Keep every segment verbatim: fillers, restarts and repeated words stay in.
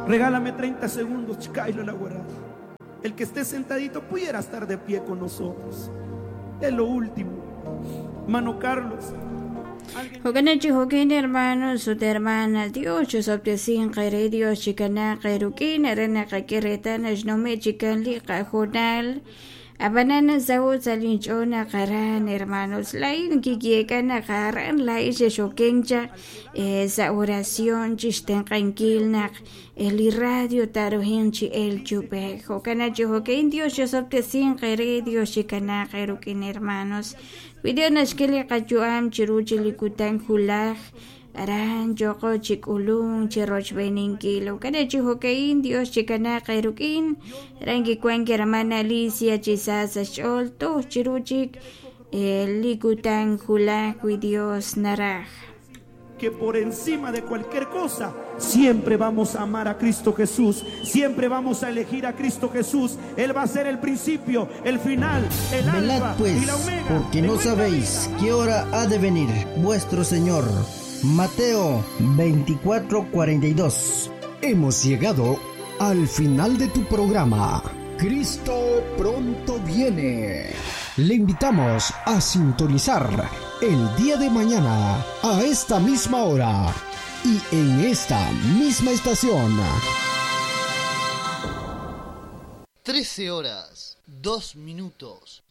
Regálame treinta segundos, Chikailo la guarda. El que esté sentadito pudiera estar de pie con nosotros. Es lo último. Mano Carlos. Jo'kanachi jo'kin hermanos ut hermanas Dios chosoptesin qere Dios chikana qerukin arana qakiretana xnome chikan li qajonal abanana saut salinchona qaran hermanos lain kikiekana qaran lai xexokencha esa oración chixtenqankilnaq el radio tarohinchi el chupe jo'kanachi jo'kin Dios chosoptesin qere Dios chikana qerukin hermanos Video naxkeli qachuam chiruchi likutan julaj aran yoko chikulun chirochbeninkilo kanachi jokein Dios chikana qerukin rangi kuanki hermana Alicia chisasa xol to chiruchik likutan julaj wi Dios naraj. Que por encima de cualquier cosa siempre vamos a amar a Cristo Jesús, siempre vamos a elegir a Cristo Jesús. Él va a ser el principio, el final, el Velad, alfa pues, y la omega. Porque no sabéis qué hora ha de venir vuestro Señor. Mateo veinticuatro cuarenta y dos. Hemos llegado al final de tu programa. Cristo pronto viene. Le invitamos a sintonizar el día de mañana a esta misma hora y en esta misma estación. Trece horas, dos minutos.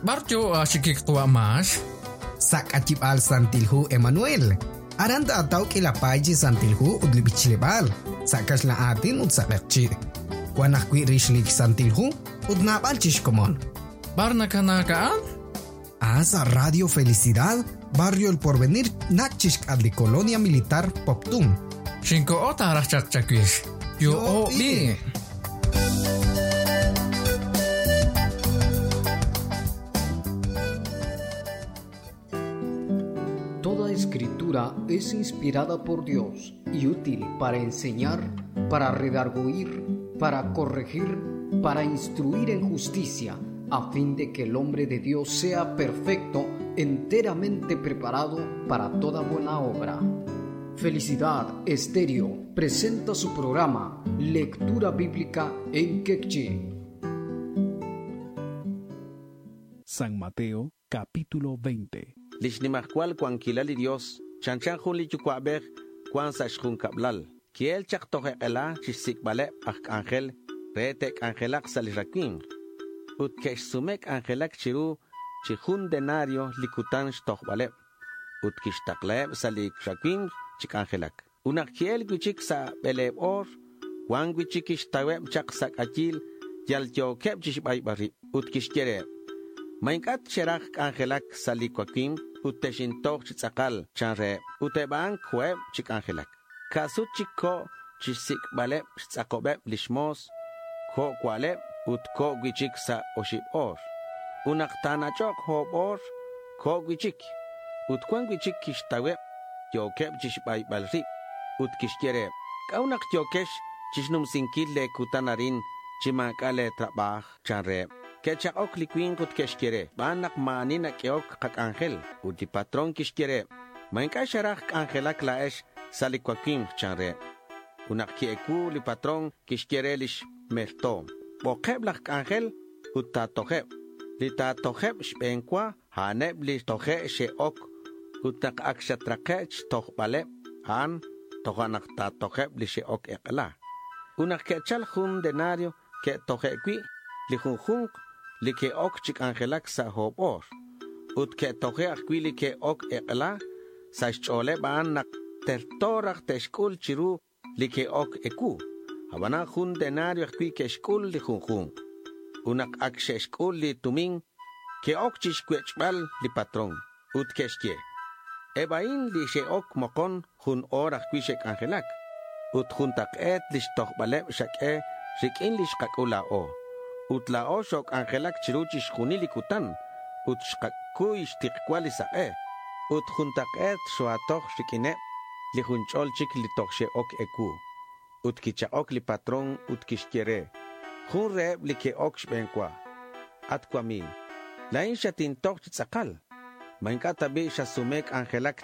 Barjo ashikik mas. Sakachibal Santilhu Emanuel. Aranda ataw kilapay Santilhu udlibichilebal. Sakash la atin utsakchi. Wanakwi rishlik Santilhu udnabal chishkomon. Barnakanaka? Asa Radio Felicidad, Barrio El Porvenir, Nachishk adli Colonia Militar Poptum. Shinko ota rachachakwish. Yo o bi. Toda escritura es inspirada por Dios y útil para enseñar, para redarguir, para corregir, para instruir en justicia, a fin de que el hombre de Dios sea perfecto, enteramente preparado para toda buena obra. Felicidad Estéreo presenta su programa Lectura Bíblica en Quechí. San Mateo, capítulo veinte. Lixnimajkual kuankilal li Dios, chanchan jun li yucuabej, kuan sa xjunkablal. Kiel chak tojeqela chixsikbaleb aj ángel, re tek angelak sa lixrakin. Ut kexsumek angelak chiru, chijun denario likutan xtojbaleb. Ut kixtakleb sa lixrakin chik angelak. Unak kiel guichik sa beleb or, kuan guichik ixtaweb chak sakachil, yal yokeb chixbaybarib. Ut kixkereb. Mainkat xeraj angelak sa likuakim, ut texintoq chitzakal chanre, uteban kueb chik angelak. Kasut chikko chisikbaleb xtzakobeb lishmos, ko kualeb ut ko guichik sa oshib or. Unaktanachok hob or, ko guichik. Ut kuan guichik kishtaweb, yokeb chixbaybalrib, ut kixkereb. Kaunak yokesh chisnumsinkil le kutanarin, chimakale trabaj chanre. Kechakok likwin ut kexkere, banak maanin akeok kak angel, ut di patron kixkere. Mainka xaraj angelak laesh salikuakim chanre. Unak kieku li patron kixkere lix merto. Bokeb lak angel ut tatoheb. Li tatoheb xbenkwa haneb li tohe sheok. Ut nak akshatraqech tohbaleb han tohanak tatoheb li sheok ekla. Unak kechal jun denario ke tohekwi li junjunk li ke ok chik angelak sa hob or. Ut ke tohe ajwi li ke ok ekla sa xcholeb aan nak tertoraj texkul chiru li ke ok eku. Habana jun denario ajwi ke xkul li junjunk. Unak ak xexkul li tumin ke ok chixkuechbal li patron. Ut kexye. Ebain li xeok mokon jun or ajwi xek angelak. Ut juntaq'et li xtojbaleb xak'e rikin li xqak'ula o. Ut la o xok angelak chiru chixjunil li kutan. Ut xqakuy xtiqwa li saq'e. Ut juntaq'et xoatoj rikineb li junch'ol chik li toj xe'ok eku. Ut kicha'ok li patron ut kixyere. Jun reheb li ke'ok xb'enwa. At kwami. La̱in xatintoj chi tz'akal. ¿Ma inc'a' ta bi' xasume c'anjelac